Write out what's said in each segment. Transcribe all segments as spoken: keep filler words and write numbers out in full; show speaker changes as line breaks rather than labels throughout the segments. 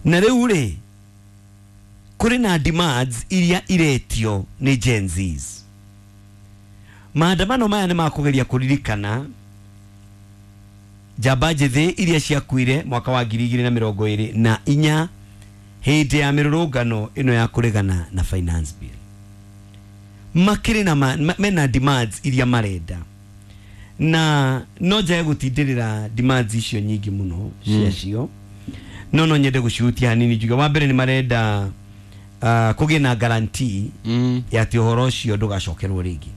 Na rĩu rĩ, kũrĩ na demands iria iretio nĩ Gen Zs. Maandamano maya nĩ makũgeria kũririkana njamba njĩthĩ iria ciakuire mwaka wa ngiri igĩrĩ na mĩrongo ĩrĩ na inya hĩndĩ ya mĩrũrũngano ĩno ya kũregana na finance bill. Makĩrĩ na ma, mena demands iria marenda, na no njage gũtindĩrĩra demands icio nyingĩ mũno ciacio, no no nyende gũcihutia hanini. Njuge wa mbere nĩ marenda uh, kũgĩe na guarantee
Mm.
ya atĩ ũhoro ũcio ndũgacokerwo rĩngĩ.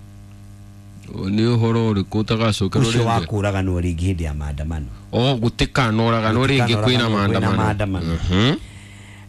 Nĩ ũhoro ũrĩkũ ũtagacokerwo
Ũcio wa
rĩngĩ?
kũraganwo rĩngĩ hĩndĩ ya maandamano.
O gũtikanoraganwo rĩngĩ kwĩna
Gũtikanoraganwo kwĩna
maandamano.
maandamano.
Mhm.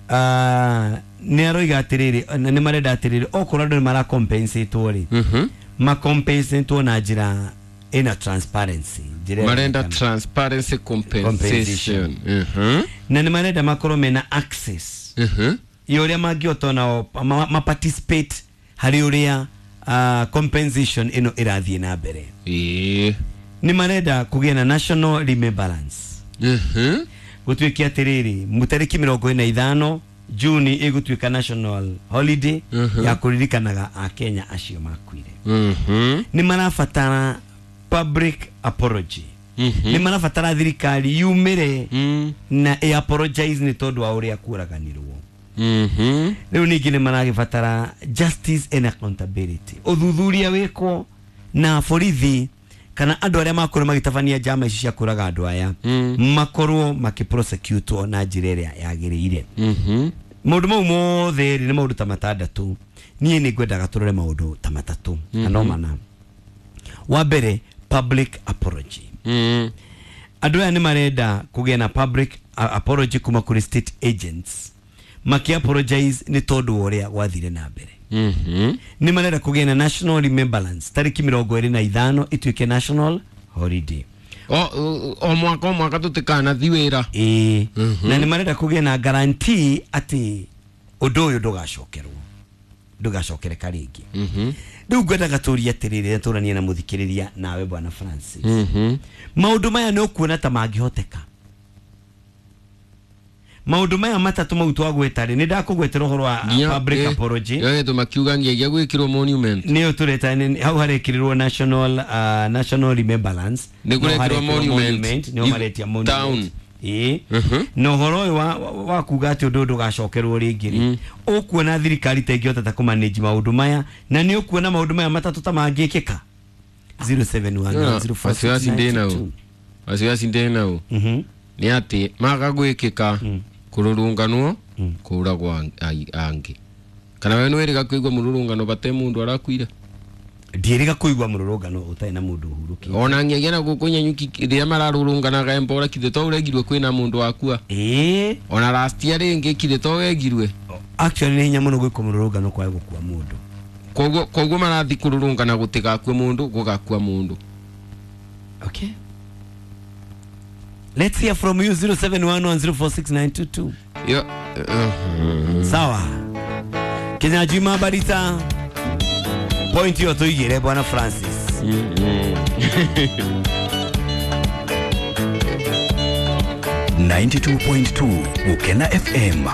Ah, nĩ aroiga atĩrĩrĩ, na nĩ marenda atĩrĩrĩ, okorwo andũ nĩ maracompensatwo rĩ,
Mhm.
macompensatwo na njĩra ĩna transparency, njĩra
Marenda
ĩronekana.
transparency compensation. Mhm.
Na nĩ marenda makorwo mena access
Mhm.
ya ũrĩa mangĩhota nao ma, ma participate harĩ ũrĩa uh, compensation ĩno ĩrathiĩ na mbere.
Ĩĩ.
Nĩ marenda kũgĩa na national remembrance,
Mhm.
gũtuĩke atĩrĩrĩ, mũtarĩki mĩrongo ĩna ithano Juni ĩgũtuĩka national holiday
Mhm.
ya kũririkanaga akenya acio makuire.
Mhm.
Nĩ marabatara public apology.
Mhm.
Nĩ marabatara thirikari yumĩre
Mm.
na ĩ apologize nĩ tondũ wa ũrĩa kũraganirwo.
Mhm.
Rĩu ningĩ nĩ maragĩbatara justice and accountability, ũthuthuria wĩkwo na borithi kana andũ arĩa makorwo magĩtabania njama ici cia kũraga andũ aya
Mm.
makorwo makĩprosecutwo na njĩra ĩrĩa yagĩrĩire.
Mhm.
Maũndũ mau mothe rĩ, nĩ maũndũ ta matandatũ. Niĩ nĩ ngwendaga tũrore maũndũ ta matatũ kana no mana. Wa mbere, public apology.
Mm.
Andũ aya nĩ marenda kũgĩa na public uh, apology kuma kũrĩ state agents maki apologize nĩ tondũ wa ũrĩa gwathire na mbere.
Mhm.
Nĩ marenda kũgĩa na national remembrance, tarĩki mĩrongo ĩrĩ na ithano ĩtuĩke national holiday.
O o- o mwaka o mwaka tũtikanathi wĩra.
Ĩĩ, na nĩ marenda kũgĩa na guarantee atĩ ũndũ ũyũ ndũgacokerwo, ndũgacokereka rĩngĩ.
Mhm.
Rĩu ngwendaga tũrie atĩrĩrĩ, tũranie na mũthikĩrĩria nawe bwana Francis,
Mhm.
maũndũ maya nĩ ũkuona ta mangĩhoteka? Maũndũ maya matatũ mau twagweta rĩ, nĩ ndakũgwetera ũhoro wa public apology.
Nginya makiuga nginya gwĩkĩrwo monument.
Nĩyo tũreta nĩ- hau harekĩrĩrwo national uh, national remembrance.
Nĩ
No
kũrekĩrwo
harekĩrwo
monument.
nĩho
I-
maretia
town.
monument. Ĩĩ.
Mhm.
Na ũhoro ũyũ wa, wa, wa kuga atĩ ũndũ ũyũ ndũgacokerwo rĩngĩ rĩ, ũkuona thirikari ta ĩngĩhota ta kũmanage maũndũ maya? Na nĩ ũkuona maũndũ maya matatũ ta mangĩkĩka? zero seven one one zero four six nine
Wasiwasi ndĩ
two.
Wasiwasi ndĩ nau
Mhm.
nĩ atĩ maga gwĩkĩka kũrũrũnganwo kũragwo ang- ai- angĩ, kana we nĩwĩrĩga kũigua mũrũrũngano bate mũndũ arakuire?
Ndiĩrĩga kũigua mũrũrũngano ũtarĩ na mũndũ ũhurũkĩte.
Ona ngiagia na gũkũ Nyanyuki rĩrĩa mararũrũnganaga embora kithĩ to ũregirwe kwĩna mũndũ wakua?
Ĩĩ.
Ona last year rĩngĩ kithĩ to wegirwe?
Actually nĩ hinya mũno gwĩkwo mũrũrũngano kwae gũkua mũndũ.
Koguo koguo marathi kũrũrũngana gũtigakue mũndũ, gũgakua mũndũ.
Okay, let's hear from you, zero seven one one zero four six nine two two.
Yo, uh,
Sawa, Kinyanjui Barita, point hiyo tuigire bwana Francis.
mm, mm.
ninety-two point two Gukena F M.